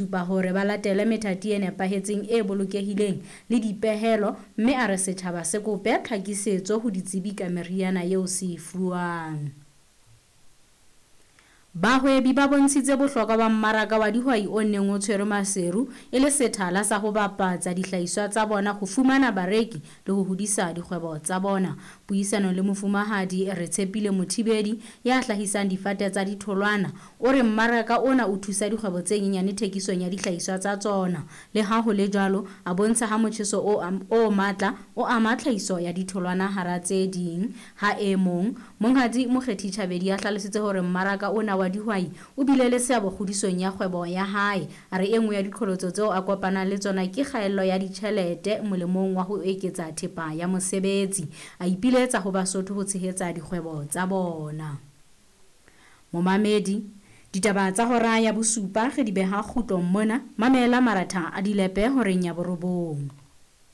Supa hore ba latele methati e nepahetseng e bolokehileng le dipehelo mme a re setjhaba se kope tlhakisetso ho ditsebi ka meriana eo se e fuwang. Bahwebi ba bontshitse bohlokwa ba mmaraka wa dihwai o neng o tshwerwe Maseru e le sethala sa ho bapatsa dihlahiswa tsa bona ho fumana bareki le ho hodisa dikgwebo tsa bona. Puisanong le Mofumahadi Retshepile Mothibedi ya hlahisang difate tsa ditholwana o re mmaraka ona o thusa dikgwebo tse nyenyane thekisong ya dihlahiswa tsa tsona. Le ha ho le jwalo, a bontsha ha motjheso o o matla o ama tlhahiso ya ditholwana hara tse ding. Ha e mong, Monghadi Mokgethi Chabedi a hlalositse hore mmaraka ona wa dihwai o bile le seabo kgodisong ya kgwebo ya hae. A re e nngwe ya diqholotso tseo a kopanang le tsona ke kgaello ya ditjhelete molemong wa ho eketsa thepa ya mosebetsi. A ipiletsa ho Basotho ho tshehetsa dikgwebo tsa bona. Momamedi, ditaba tsa hora ya bosupa re di beha kgutlong mona. Mamela maratha a dilepe horeng ya borobong.